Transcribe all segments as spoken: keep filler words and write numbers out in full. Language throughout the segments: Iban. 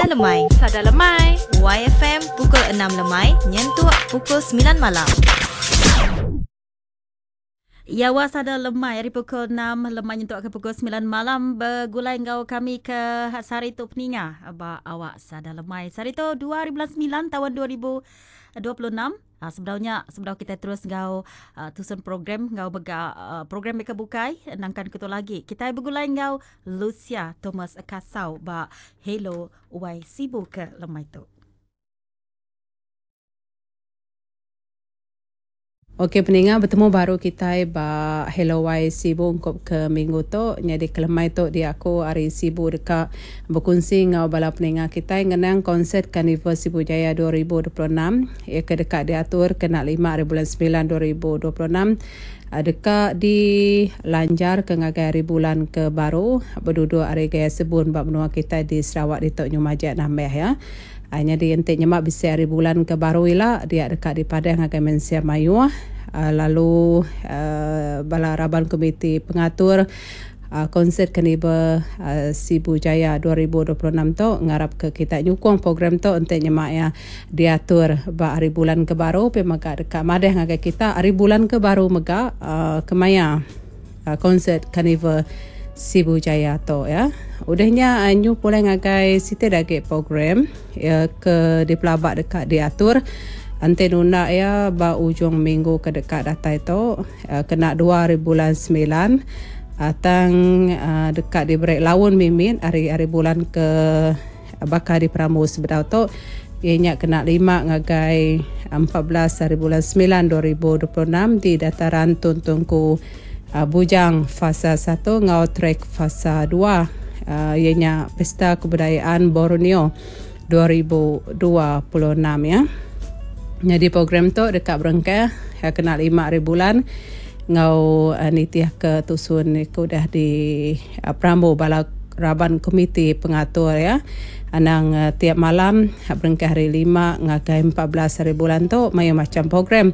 Sada Lemai. Sada Lemai. Y F M pukul enam lemai nyentuk pukul sembilan malam. Ya, Sada Lemai hari pukul enam lemai nyentuk ke pukul sembilan malam bergulai ngau kami ke sehari tu peninga ba awak Sada Lemai. Sehari tu dua ribu sembilan tahun dua ribu dua puluh enam. Ha, sebenarnya sebelum kita terus ngau uh, tusun program ngau bega uh, program mereka bukai nangkan ketu lagi. Kita bergulai ngau Lucia Thomas Kasau ba Hello Y Sibu ke lemai tu. Okey peninga bertemu baru kita ba Hello Y Sibu ungkup ke minggu tu. Jadi kelemai tu dia aku hari Sibu dekat berkongsi ngau bala peninga kita ngenang konsert Karnival Sibu Jaya dua ribu dua puluh enam ia ke dekat diatur kena lima hari bulan sembilan dua ribu dua puluh enam dekat di lanjar ke ngagai hari bulan ke baru berduduk hari gaya sebun bab menua kita di Sarawak di Tok Nyumajek nambah ya. Hanya di entik nyemak bisa hari bulan ke baru ila dia dekat di Padang ngagai mensia mayuh lalu uh, bala raban komiti pengatur uh, konsert Karnival uh, Sibu Jaya dua ribu dua puluh enam tu ngarap ke kita nyukung program tu entik nyemak ya diatur ba hari bulan ke baru pe mega dekat madeh ngagai kita hari bulan ke baru mega uh, kemaya uh, konsert Karnival Sibu Jaya tu ya. Udahnya anyu pulai ngagai siti dagik program ya ke di pelabak dekat diatur ante nunda ya ba ujung minggu ke dekat datai tu kena dua hari bulan sembilan atang dekat diberi laun mimit hari-hari bulan ke bakal di Pramu sebedau tu ianya kena lima ngagai empat belas hari bulan sembilan dua ribu dua puluh enam di dataran Tun Tunku Bujang fasa satu ngau trek fasa dua uh, ianya Pesta Kebudayaan Borneo dua ribu dua puluh enam ya. Jadi program tu dekat berengkah ya, kena lima hari bulan ngau uh, nitiah ke tusun ke udah di uh, Pramu bala raban komiti pengatur ya. Anang uh, tiap malam berengkah hari lima ngagai empat belas hari bulan tu mayu macam program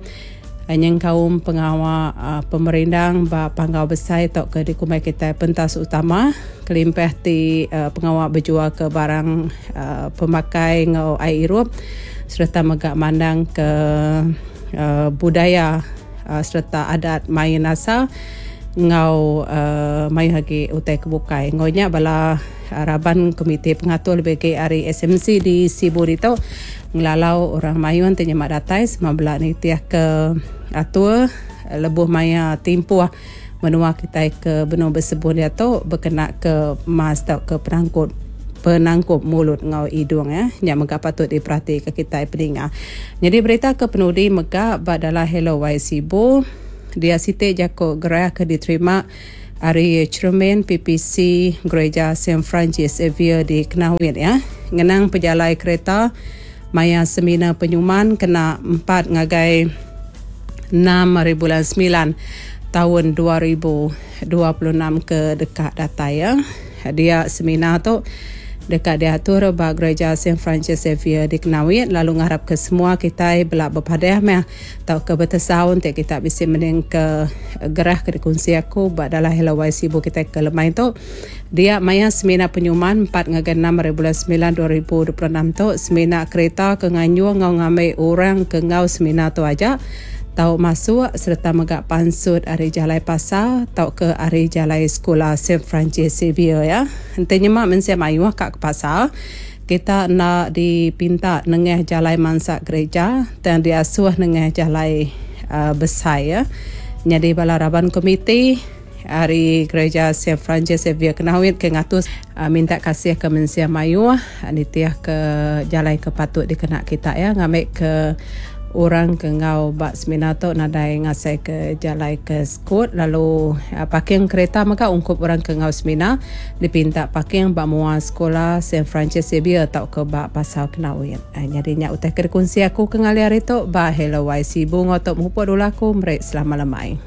nyeng kaum pengawal uh, pemerindang ba panggau besar tok ke dikumai kita pentas utama kelimpah ti uh, pengawal berjual ke barang uh, pemakai ngau air irup serta megak mandang ke uh, budaya uh, serta adat main asal ngau uh, main lagi utai kebukai ngonya bala raban komite pengatur lebih ke hari S M C di Sibu itu ngelalau orang mayun tanya mak datai semabla ni tiah ke atur lebuh maya timpuh menua kita ke benua bersebun dia tu berkena ke mas atau ke penangkut penangkup mulut ngau hidung ya yang mega patut diperhati ke kita peninga. Jadi berita ke penudi mega badalah Hello Y Sibu dia siti jako gerah ke diterima hari cermin P P C Gereja Saint Francis Xavier di Kenawit ya. Ngenang pejalai kereta maya seminar penyuman kena empat ngagai enam hari bulan sembilan tahun dua ribu dua puluh enam ke dekat datai ya. Dia seminar tu dekat diatur ba Gereja Saint Francis Xavier di Kenawit lalu ngarap ke semua kita belak berpadah meh tau ke bertesaun te kita bisa mending ke gerah ke dikongsi aku ba dalam Hello Y Sibu kita ke lemai tu dia maya seminar penyuman empat ngagai enam hari bulan sembilan dua ribu dua puluh enam tu seminar kereta ke nganyung ngau ngamai orang ke ngau seminar tu aja tau masuk serta megak pansut ari jalai pasar tau ke ari jalai sekolah Saint Francis Xavier ya. Ente nyemak mensia mayuh kat ke pasar kita nak dipinta nengah jalai mansak gereja dan diasuh nengah jalai uh, besar ya. Jadi bala raban komiti hari gereja Saint Francis Xavier Kenawit ke ngatus uh, minta kasih ke mensia mayuh nitiah ke jalai ke patut dikena kita ya ngambil ke orang ke ngau bak seminar tu nadai ngasai ke jalai ke skut lalu uh, parking kereta maka ungkup orang ke ngau seminar dipinta parking bak mua sekolah Saint Francis Xavier atau ke bak pasar Kenawit. Uh, jadi nyak utai ke kunci aku ke ngali hari tu bak Hello Y Sibu ngotok mupuk dulu aku merek selama lemai.